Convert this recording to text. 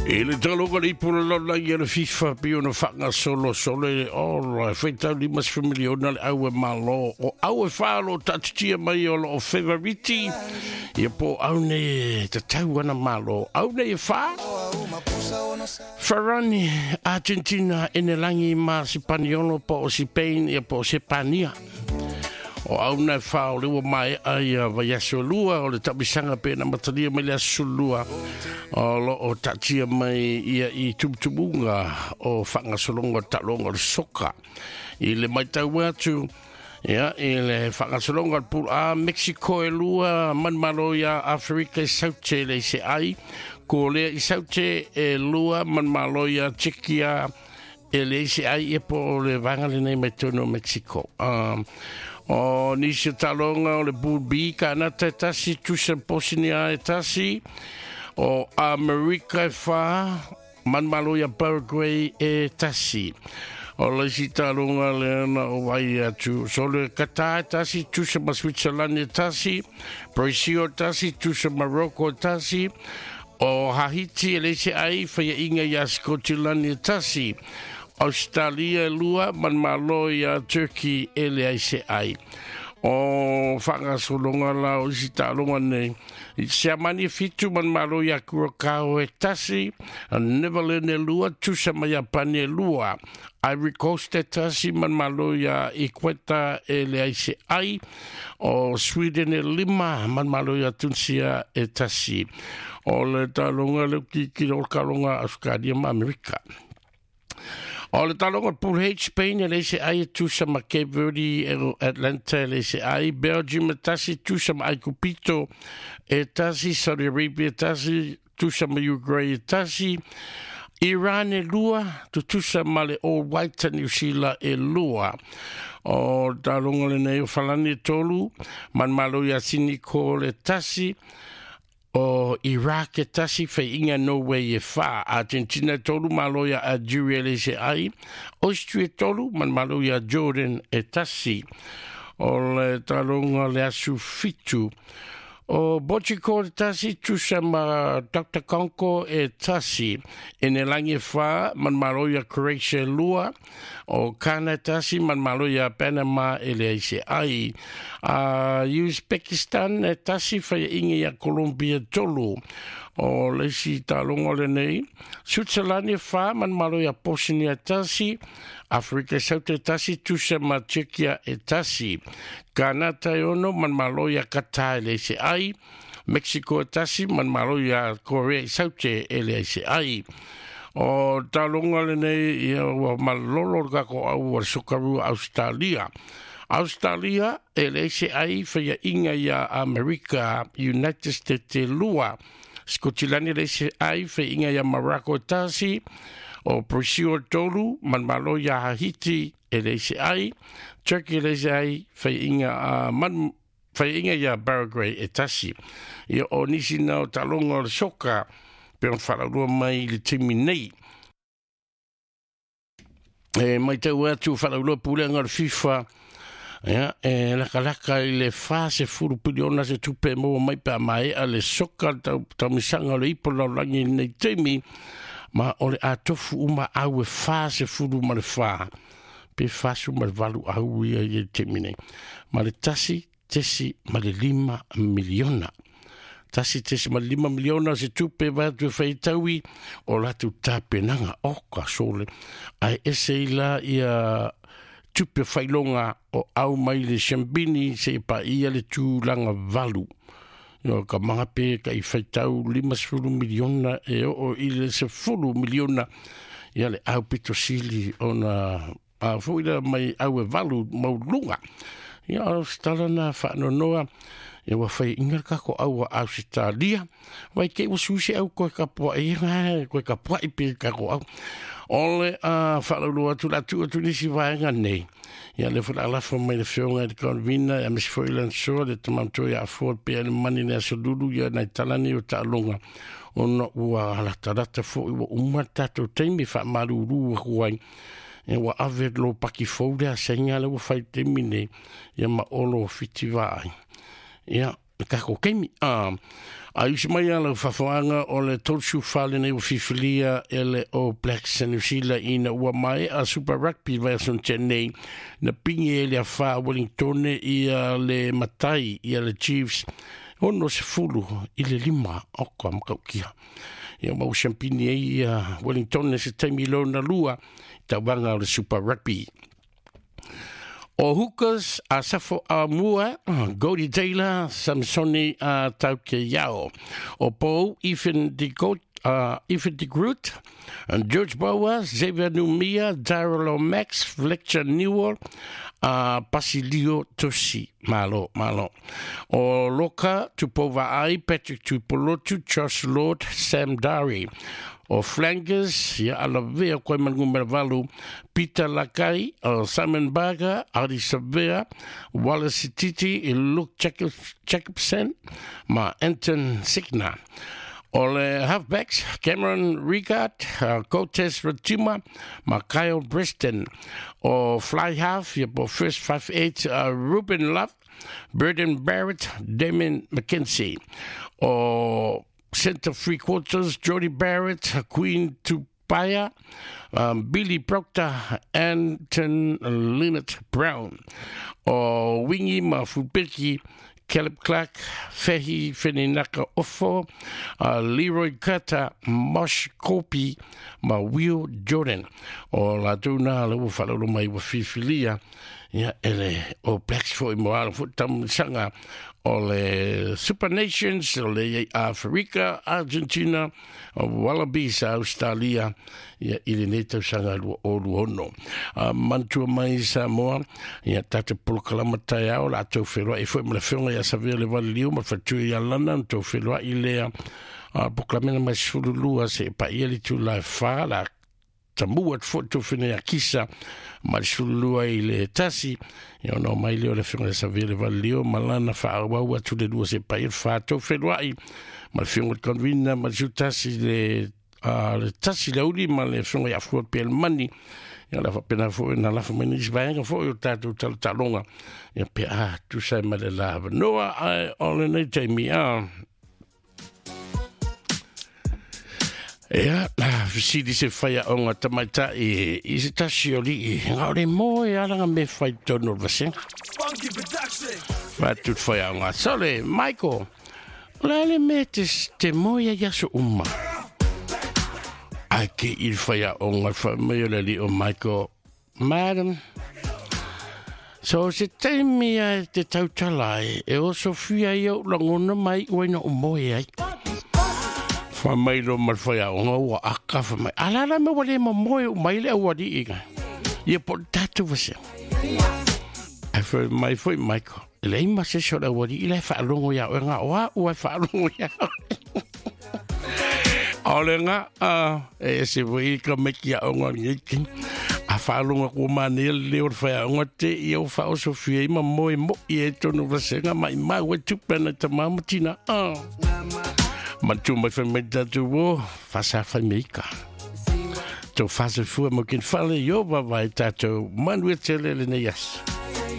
I le taloga le ipu lalolagi a le FIFA pei ona faagasolo sole o faitau 50 miliona le au e malo o au e wha lo taatitia mai o lo o favoriti ia po au nei tatau ana malo au nei e wha Farani Argentina Enelangi ma Sipaniolo po o Spain ia po o Sepania o au na wha o lewa mai ai a vaiaso lua o le tapisaga pe na matalia mai le aso lua o lo o tatia mai ia i tumutumunga o whangasologa talonga o le soka i le maitau atu ia, i le whangasologa o le A Mexico e lua manumalo ia Afrika i Saute le se ai ko lea i Saute e lua manumalo ia Tsekia e le se ai e po o le vanga le nei mai tonu o Mexico. O nisi o talonga o le Pool B, Kanata e tasi, Tusa Bosnia e tasi, o Amerika e wha, manumalo ia Paraguay e tasi. O le isi talonga le na o vai atu. So le Qatar e tasi, Tusa ma Switzerland e tasi, Brazil e tasi, Tusa Morocco e tasi, o Hahiti e leise ai, whaia inga ia Scotland e tasi. Australia e lua, manumalo ia Turkey e le ai se ai. O whangasologa la o isi talonga nei. I Siamani 7 manumalo ia Curacao e tasi, Netherlands e lua, Tusa ma Iapani e lua. Ivory Coast e tasi, manumalo ia Equeta e le ai se ai. O Sweden e 5, manumalo ia Tunisia e tasi. O le talonga le ki o kalonga Australia ma Amerika. O le talonga Pool H, Spain e leise ai e tusa ma Cape Verde e Atlanta e leise ai, Belgium e tasi tusa ma Aikupito e tasi, Saudi Arabia e tasi, tusa ma Uruguay e tasi, Iran e lua, tutusa ma le All White New Zealand e lua. O talonga le nei o Falani e 3, manumalo ia Siniko le tasi, o Iraq e tasi whai Norway e 4, Argentina e 3, malo ia Algeria le se ai, Austria e 3, manumalo ia Jordan e tasi. O le talonga le asu 7. O Botiko e tasi, tusa ma Dr. Congo e tasi. E ne langi e 4, manumalo ia Croatia e 2, o Kana e tasi, manumalo ia Panama e le se ai. A Uzbekistan e tasi, whai inga ia Colombia 3. O le isi talonga le nei. Switzerland e 4, manumalo ia Bosnia e tasi, Afrika Saute e tasi, tusa ma Tsekia e tasi. Kanata e 6, manumalo ia Qatar e le se ai. Mexico e tasi, manumalo ia Korea i Saute e le se ai. O talonga le nei, ia ua malolo le kako au o le sokarua Australia. Australia e le se ai whaia inga ia Amerika, United States e 2. Scotland e le se ai whaia inga ia Morocco e tasi. O Brazil e 3, manumalo ia Haiti e le se ai. Turkey e le se ai whaia inga whaia inga ia Paraguay e tasi. Ia o nisi na o talonga o le soka, pe on whalaurua mai le timi nei. E mai tau atu whalaurua pulenga o le FIFA, ia, e lakalaka i le 40 piliona se tupe maua mai pe a mai a le soka taumisaga o le ipo lalolagi nei taimi, ma o le atofu uma au e 44 pe 48 au ia i le taimi nei. Ma le 1.5 miliona. 1.5 miliona se tupe va atu e whaitaui o latu tapenaga o ka sole. Ai ese i la ia tupe whailonga o au mai le siambini se i pa ia le tūlanga valu. Yo, ka mga pe ka i whaitau 50 miliona e o i le 10 miliona ia le au pito sili ona a fo ila mai au e valu maulunga. Ia o stala na whaanonoa ia ua whai inga kako au a Australia. Vai ke ua susi au koe kapua i nga, koe kapua i pe kako au. O le a whaalaulu atu la tu atu nisi vaenga nei. Ia le whala alafa mai le whionga i le konvina, ia misi fo ilan soa le tamamto ia afoa pe ale mani le aso lulu ia nai talani o ta'alonga. Ona ua latalata fo i ua uma tātou taimi wha maruru aku ai. E ua ave lo paki fou le a senga le ua whai taimi nei. Ia ma olo whiti vaai. Ia Le kako keimi. A usi mai ala fafoanga o le 34 lenei ua fifilia e le All Blacks a New Zealand ina ua mai a Super Rugby vaiaso na tea nei, na pigi e le afa Wellingtone ia le matai ia le Chiefs 65 oka makaukia. Ia mau siampini ai ia Wellingtone se taimi lona lua i tauvaga o le Super Rugby. O Hookers a Safo Aumua, Goldie Taylor, Samsoni a Taukeiao. O Pou, Ethan de Goat, Ethan de Groot, George Bower, Xavier Numia, Daryl O'Max, Fletcher Newell, Basilio Tosi. Malo, malo. O Loka, Tupou Vaai, Patrick Tuipolotu, Josh Lord, Sam Dari. O Flankers, ia alavea koe ma le numera 8, Peter Lakai, Simon Barker, Ardie Savea, Wallace Sititi, Luke Jacobson ma Anton Signa. O le halfbacks, Cameron Ricard, Cotes Ratima ma Kyle Breston. O fly half, ia po first 5'8, Ruben Love, Burden Barrett, Damien McKenzie. O centre three quarters, Jody Barrett, Queen Tupaia, Billy Proctor, Anton Linnett Brown. O wingi ma fulpeki, Caleb Clark, Fehi Feninaka Ofo, Leroy Carter, Mosh Kopi ma Will Jordan. O latou na le ua faalolo mai ua filifilia ia e le All Blacks foi mo ala foi taumasaga o le Super Nations o le iai Aferika, Argentina, Wallabies a Australia ia i lenei tausaga 2026. Manatua mai Samoa ia tatou polokalama taeao la tou feloai foi ma le afioga ia Savea le Valiliu ma le faletua ia Lana na tou feloai lea polokalamena mai 12 se paia le itula e 4 la tamu atu foi tou fena ia Kisa mai le 12 i le 1 ia ona omai lea o le afioga ia Savea le Valiliu ma lana faaauau atu le 2 se paia le 4 tou feloai ma le afioga i le convener ma le 11 le le 1 le aoauli ma le afioga ia Afua Pelemani ia la faapena foi na lafo mai nisi vaega foi o tatou talotaloga ia pe a tusa ai ma le la avanoa ae o lenei taimi a Ia, fesili se whaiaonga tamaitai i se tasi o lii, ngā ore mō e alanga me whai tonu o le vasenga. Funky Production. Whātu te whaiaonga. Sole, Michael, o le ale mea te, te moe ai aso uma. Ai ke i le whaiaonga, whai mai o le li o Michael, Madam, so se taimi ai te tautala ai, e osofia ai au langona mai ua ina o moe ai. Whai mai lo ma le whaiaonga ua aka whai mai. Ala la me ua le momoe u mai le auali'i ka. Ia po le tātou vasea. Ai whai mai foi Michael. E leai ma se isi o le auali'i la e whaalongo ia oe ngā oa ua e whaalongo ia oe. O le ngā a e ese foi i ka meki a onga ni ki. A whaalonga kua māne le leo le whaiaonga te i au whaosofia i ma moe mo i e tonu vasenga mai mau e tupe ana ta mamatina. Ah. Manatua mai whai mai tātou o whasa whai meika. Tō whasa fua mo kin whale i o vavae tātou manuia tele le nei aso.